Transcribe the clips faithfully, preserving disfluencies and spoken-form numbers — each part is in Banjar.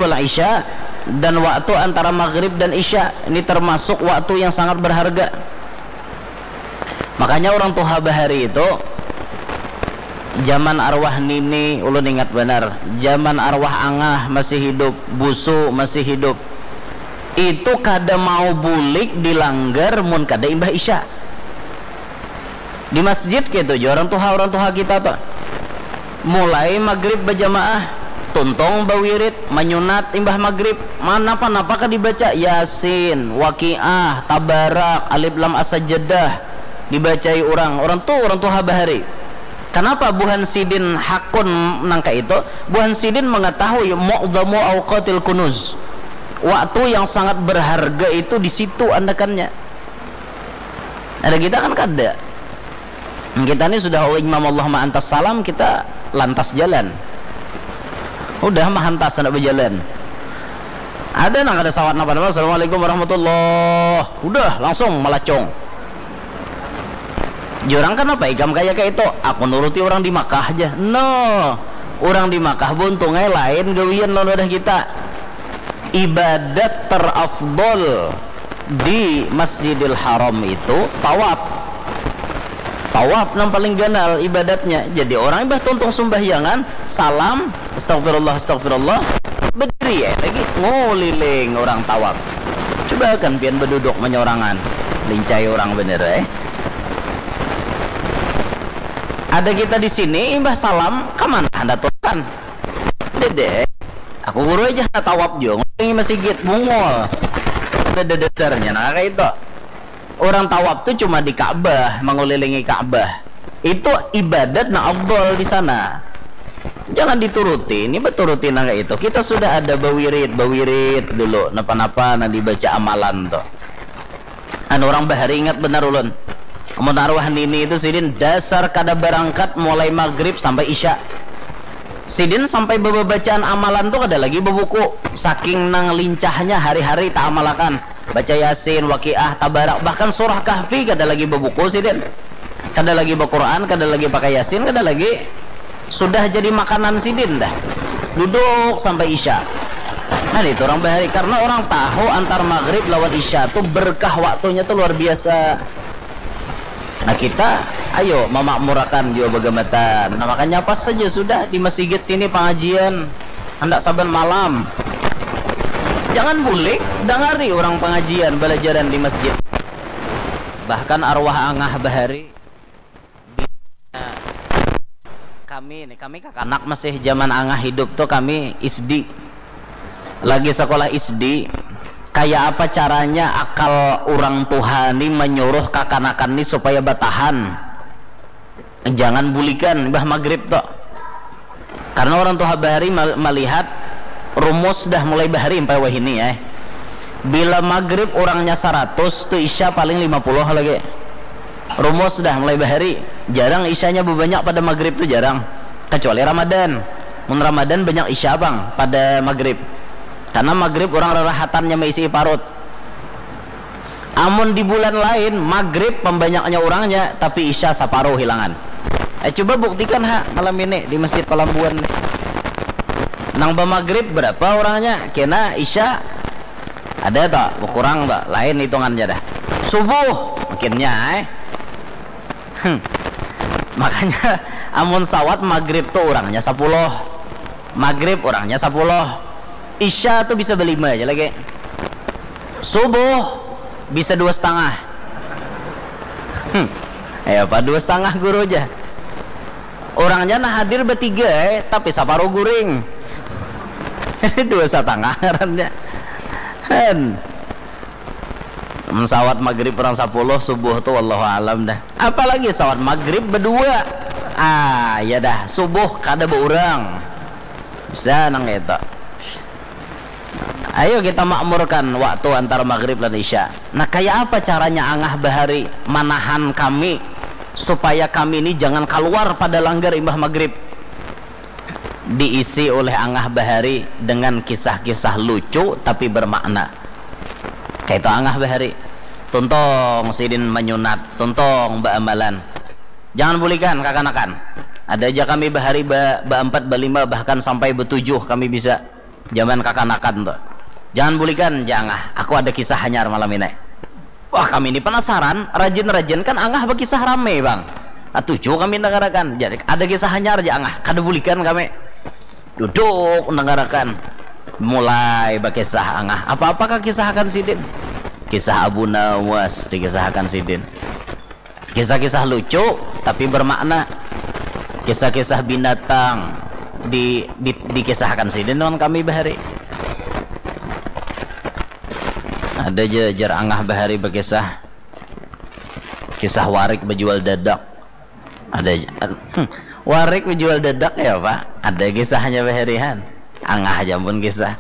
wal isya, dan waktu antara maghrib dan isya. Ini termasuk waktu yang sangat berharga. Makanya orang tuha bahari itu, zaman arwah nini, ulun ingat banar, zaman arwah angah masih hidup, busu masih hidup, itu kada mau bulik di langgar mun kada imbah isya. Di masjid kaitu ja orang tuha, orang tuha kita tu. Mulai maghrib bajamaah, tuntung bawirid, manyunat imbah maghrib, ma-, napa-napa kah dibaca, Yasin, Waqiah, Tabarak, Alif Lam As-Sajdah, dibacai urang. Urang tu urang tuha bahari. Kanapa buhan sidin hakun nang kaitu? Buhan sidin mangatahui mu'dhamu awqatil kunuz. Waktu yang sangat berharga itu di situ andakannya. Ada kita kan kada. Kita ni sudah, "Oh, Imam, Allahumma antas salam," kita lantas jalan. Udah mah, hantas handak bajalan. Ada nang kada sawat napa-napa, "Assalamualaikum warahmatullah." Udah, langsung malacung. Jar urang, "Kanapa ikam kaya kaitu?" "Aku nuruti urang di Makkah ja." No, urang di Makkah buntung ai lain gawian lawan wadah kita. Ibadat terafdol di Masjidil Haram itu tawaf. Tawaf nang paling ganal ibadatnya. Jadi orang imbah tuntung sumbahyangan, salam, astagfirullah, astagfirullah, berdiri ya lagi, nguliling orang tawaf. Coba kan pian beduduk menyorangan, lincai orang bener eh. Ada kita di sini, imbah salam, kemana anda tuan? Dede, aku guru aja, tawaf juga ngulilingi masjid, bungul. Ada dasarnya nah kayak itu. Orang tawaf tuh cuma di Ka'bah, mengulilingi Ka'bah. Itu ibadat nah afdol di sana. Jangan dituruti, ini beturuti nang kayak itu. Kita sudah ada bawirid, bawirid dulu, napa-napa nah dibaca amalan tuh. Anu, orang bahari ingat benar ulun. Amun arwah nini itu sidin dasar kada barangkat mulai maghrib sampai isya. Sidin sampai bebacaan amalan tu kada lagi bebuku. Saking nang lincahnya hari-hari taamalakan. Baca Yasin, Waqiah, Tabarak, bahkan surah Kahfi kada lagi bebuku sidin. Kada lagi bequran, kada lagi pakai Yasin, kada lagi, sudah jadi makanan sidin dah. Duduk sampai isya. Nah, itu orang bahari karena orang tahu antar maghrib lawan isya tu berkah waktunya tu luar biasa. Nah, kita ayo memakmurakan jua bagamatan. Nah, makanya pas saja sudah di masjid sini pengajian, hendak saban malam. Jangan bulik, dangari orang pengajian, belajaran di masjid. Bahkan arwah angah bahari, kami nih, kami kakanak masih zaman angah hidup tuh kami isdi. Lagi sekolah isdi, kayak apa caranya akal orang tuha nih menyuruh kakanakan nih supaya bertahan? Jangan bulikan bah maghrib tuh. Karena orang tuha bahari melihat rumus dah mulai bahari sampai wahini ya. Bila maghrib orangnya seratus, tu isya paling lima puluh lagi. Rumus dah mulai bahari. Jarang isyanya bebanyak pada maghrib tu jarang. Kecuali Ramadan. Mun Ramadan banyak isya bang pada maghrib. Karena maghrib orang rerahatannya maisi parut. Amun di bulan lain, maghrib pembanyaknya orangnya, tapi isya saparuh hilangan. Eh, coba buktikan ha malam ini di Masjid Palambuan nih. Nang bamaghrib berapa orangnya? Kena isya ada tak? Berkurang tak? Lain hitungannya dah. Subuh makinnya eh. Hmm. Makanya amun sawat maghrib tuh orangnya sepuluh. Maghrib orangnya sepuluh. Isya tuh bisa berlima aja lagi. Subuh bisa dua setengah. Hmm. Ya apa dua setengah guru aja. Orangnya nah hadir bertiga eh, tapi separuh guring. Dua setengah ngarannya. Hen. Sawat maghrib orang sepuluh, subuh tuh wallahu alam dah. Apalagi sawat maghrib berdua. Ah, ya dah, subuh kada beurang. Bisa nang itu. Ayo kita makmurkan waktu antara maghrib dan isya. Nah, kayak apa caranya angah bahari manahan kami supaya kami ini jangan keluar pada langgar imbah maghrib? Diisi oleh angah bahari dengan kisah-kisah lucu tapi bermakna. Kayak itu angah bahari. Tuntong sidin menyunat, tuntong beamalan. Jangan bulikan kakanakan. Ada aja kami bahari ba, baempat, balima, bahkan sampai betujuh kami bisa. Zaman kakanakan tu. Jangan bulikan, ja Angah. Aku ada kisah hanyar malam ini. Wah, kami ni penasaran. Rajin-rajin kan Angah bakisah rame, Bang. Katuju kami dengarakan. Jadi, ada kisah hanyar ja Angah. Kada bulikan kami. Duduk dengarakan. Mulai bakisah Angah. Apa-apa kah kisah akan sidin? Kisah Abu Nawas dikisahkan sidin. Kisah-kisah lucu tapi bermakna. Kisah-kisah binatang di, di dikisahkan sidin lawan kami bahari. Ada ja jar Angah bahari bakisah. Kisah warik bejual dadak. Ada ja. Warik bejual dadak ya, Pak. Ada kisahnya bahari han. Angah aja pun kisah.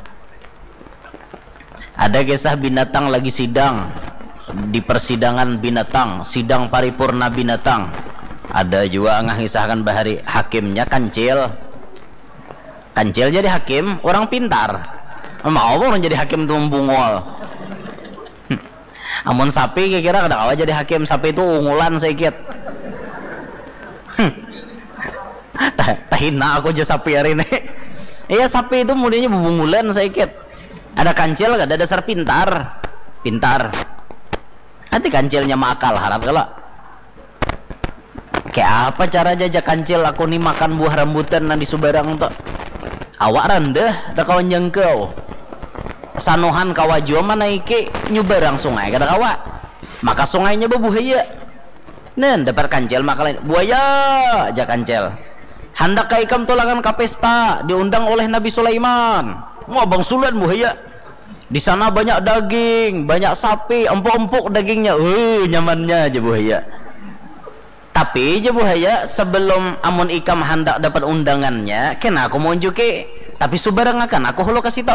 Ada kisah binatang lagi sidang di persidangan binatang, sidang paripurna binatang. Ada jua Angah ngisahkan bahari hakimnya kancil. Kancil jadi hakim, orang pintar. Mau orang jadi hakim tu membungol. Amun sapi kira-kira kada kawa jadi hakim, sapi tu ungulan saikit. Tah-, tahina aku ja sapi hari ini. Iya, sapi itu mudinya bubungulan saikit. Ada kancil kada dasar pintar. Pintar. Hati kancilnya maakal harat kalo. Kayak apa cara jajak kancil aku ni makan buah rambutan nang di subarang tu. Awak randah, kada kawa jangkau. Sanuhan kawa jua manaiki nyubarang sungai kada kawa. Maka sungainya babuhaya. Nen, dapat kancil maka lain. Buaya, ja kancil. Handak ka ikam tulangan ka pesta, diundang oleh Nabi Sulaiman. Wah, bangsulan buhaya. Di sana banyak daging, banyak sapi, empuk-empuk dagingnya. Uh, nyamannya aja buhaya. Tapi ja buhaya, sebelum amun ikam handak dapat undangannya, kena aku maunjuki. Tapi subarangakan aku hulu ka situ.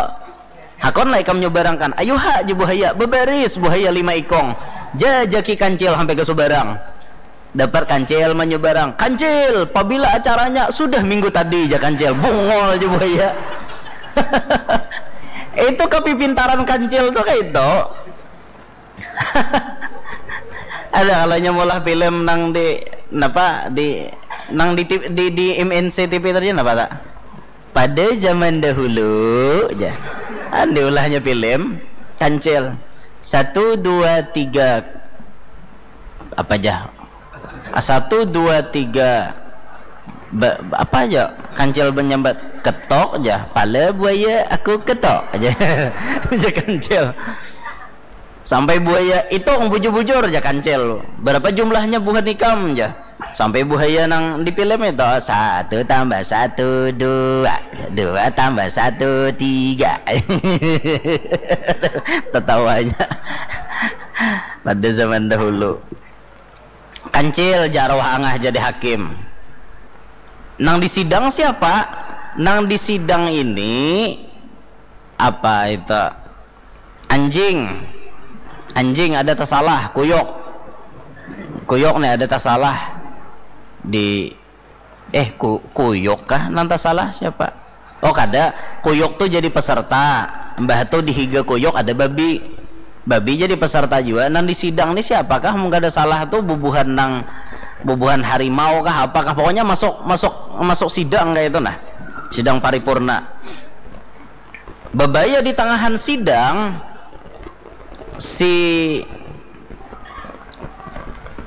Hakon lah ikam nyubarangkan. Ayuha ja buhaya, bebaris buhaya lima ikong. Jajaki kancil sampai ke subarang. Dapat kancil manyubarang. Kancil, pabila acaranya? Sudah minggu tadi ja kancil. Bungol ja buhaya. Itu kepipintaran kancil tuh kayak itu. Ada kalanya maulah film nang di napa di nang di, T V di, di M N C T V tadi napa tak? Pada zaman dahulu ja. An diulahnya film kancil. Satu, dua, tiga. Apa ja? Ah, satu, dua, tiga. Ba-, apa aja? Kancil menyambat ketok ja. Pala buaya aku ketok aja. Ja kancil. Sampai buaya itu bujur-bujur ja kancil. Berapa jumlahnya buhan ikam ja? Sampai buhaya nang di film itu, satu tambah satu dua, dua tambah satu tiga. Tertawanya pada zaman dahulu. Kancil ja arwah Angah jadi hakim. Nang di sidang siapa? Nang di sidang ini apa itu? Anjing. Anjing ada tasalah, kuyuk. Kuyuk nih ada tasalah di, eh, ku-, kuyuk kah nang tasalah siapa? Oh, kada. Kuyuk tuh jadi peserta. Mbah tuh di higa kuyuk ada babi. Babi jadi peserta jua. Nang di sidang nih siapakah mun kada salah tuh bubuhan nang, bubuhan harimau kah apakah, pokoknya masuk, masuk, masuk sidang kayak itu nah. Sidang paripurna. Babaya di tangahan sidang, si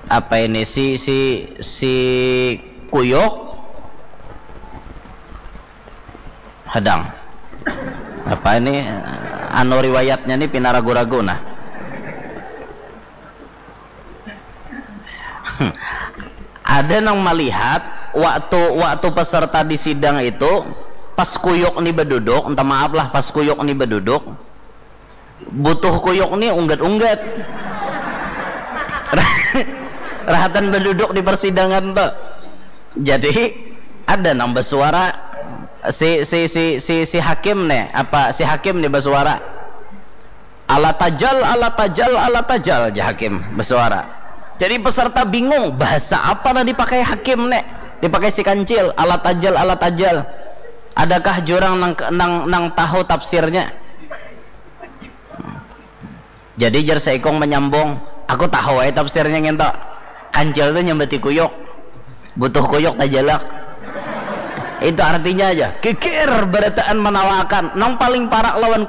apa ini, si, si, si kuyuk hadang. Apa ini, anu, riwayatnya nih pina ragu-ragu nah. Ada nang malihat waktu, waktu peserta di sidang itu, pas kuyuk ni beduduk, entah maaf lah, pas kuyuk ni beduduk, butuh kuyuk ni unggat-unggat. Rahatan beduduk di persidangan tuh. Jadi ada nang bersuara, si, si, si, si, si hakim nih, apa si hakim nih bersuara, "Ala tajal, ala tajal, ala tajal," ja hakim bersuara. Jadi peserta bingung, bahasa apa nang dipakai hakim nih? Dipakai si kancil, "Ala tajal, ala tajal." Adakah jurang nang, nang, nang tahu tafsirnya? Jadi jar seikong menyambung, "Aku tahu ai tafsirnya nginto. Kancil tuh nyambati kuyuk. Butuh kuyuk tajalak." Itu artinya aja. Kikir barataan manawakan. Nang paling parak lawan